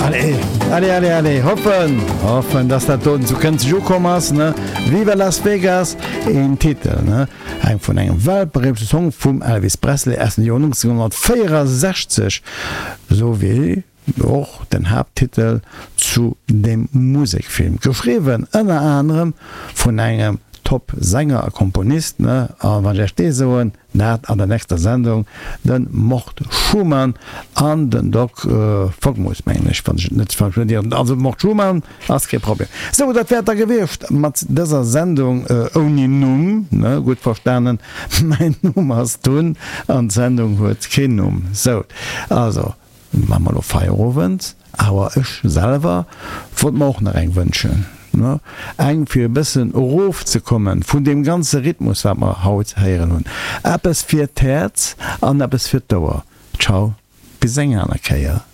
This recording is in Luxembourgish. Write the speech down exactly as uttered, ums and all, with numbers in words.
Allez, allez, allez, allez, hoffen, hoffen, dass dat doten sou kënzeg ukomm ass, ne? Viva Las Vegas, een Titel, ne? Eng vun engem weltberühmte Song vum Elvis Presley aus dem Joer neunzehnhundertvéierundsechzeg, sou wéi och den Haapttitel zu deem Musekfilm, geschriwwen ënner anerem vun engem Top-Sänger a Komponist, ne? A wann ech Iech dee soen, dat an der nächster Sendung, de Mort Schumann an den Doc Fogmus, mengen ech, wann ech et net falsch notéiert hunn. Also Mort Schumann ass kee Problem. Sou, dat wär et da gewiescht mat dëser Sendung ouni Numm, ne? Gutt verstanen, mäin Numm ass Tun an d'Sendung huet keen Numm. Sou, also maache mer elo Feierowend, awer ech selwer wollt mer och nach eng wënschen. Eng fir e bëssen erofzekomme vun deem ganze Rhythmus wat mer haut héieren hunn. Eppes fir d'Häerz an eppes fir d'Ouer. Ciao, bis eng aner Kéier.